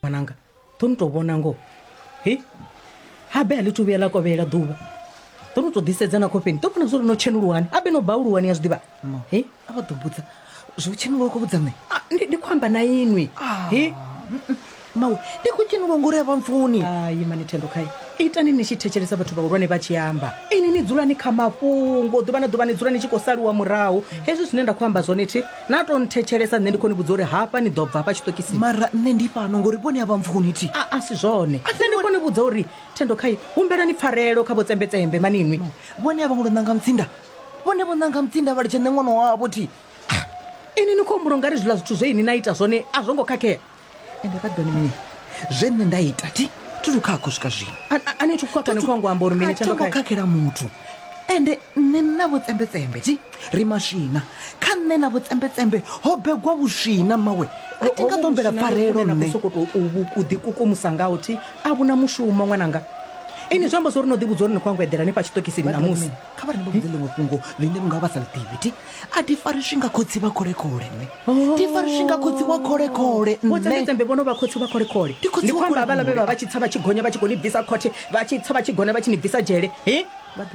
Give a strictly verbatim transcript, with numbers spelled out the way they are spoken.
Ṅwananga, ḓo ni tou vhona ngoho. He? Habe a ḽi thu vhuya ḽa kovhela ḓuvha. Ḓo no tou ḓisedza na khofheni. Ḓo vhona zwo ri no tshenuluwani. Habe no bauluwani ya zwi ḓivha. He? A vha ḓo mbudza zwo tshenuluwa khou vhudza nṋe. Ah, ndi ndi khou amba na inwi. He? Mawe, ndi khou tshenuluwa ngori a vha mpfuni. Hai mani Thendo khai. Itani ni tshi thetshelesa vhathu vhahulwane vha tshi amba. Ini ni dzula ni kha mafhungo ḓuvha na ḓuvha ni dzula ni tshi khou saluwa murahu. Hezwi zwine nda khou amba zwone thi na to nthetshelesa nṋe ndi khou ni vhudza uri hafha ni ḓo bva hafha tshiṱokisini. Mara nṋe ndi fhano ngori vhone a vha mpfuni thi. A a si zwone. Nṋe ndi khou ni vhudza uri Thendo khai humbelani pfarelo kha vho tsembetsembe mani inwi. Vhone a vha ngo ṋanga mutsinda. Vhone vho ṋanga mutsinda vha litsha nṋe ṅwana wavho thi. Ini ni khou humbula ungari zwiḽa zwithu zwe ini na ita zwone a zwo ngo khakhea. Ende vha ḓoni mini zwe nṋe nda ita thi thi thu khakha u swika zwino. A a- a ni thu khakha ni khou ngo amba uri mini A Thendo tho ngo khai. khakhela muthu. Ende nṋe na vho tsembetsembe thi ri maswina. Kha nṋe na vho tsembetsembe ho begwa vhuswina mawe. A thi nga ḓo humbela pfarelo na nṋe. sokou tou u ḓi kukumusa ngaho thi a vhuna mushumo ṅwananga. Ini zwi amba zwa uri no ḓi vhudza uri ni khou yango eḓela hanefha tshiṱokisini ṋamusi. Kha vha ri ndi vha vhudze ḽiṅwe fhungo ḽine vhunga vha sa ḽi ḓivhi thi. A thi fariswi nga khotsi vha kholekhole nṋe. Thi fariswi nga khotsi wa kholekhole Vho nṋe. tsembetsembe vho no vha khotsi vha kholekhole. Ndi khotsi Ndi wa khou amba havhaḽa vhe vha kholekhole. vha tshi tsa vha tshi gonya vha tshi khou ni bvisa khothe, vha tshi tsa vha tshi gonya vha tshi ni bvisa dzhele. He?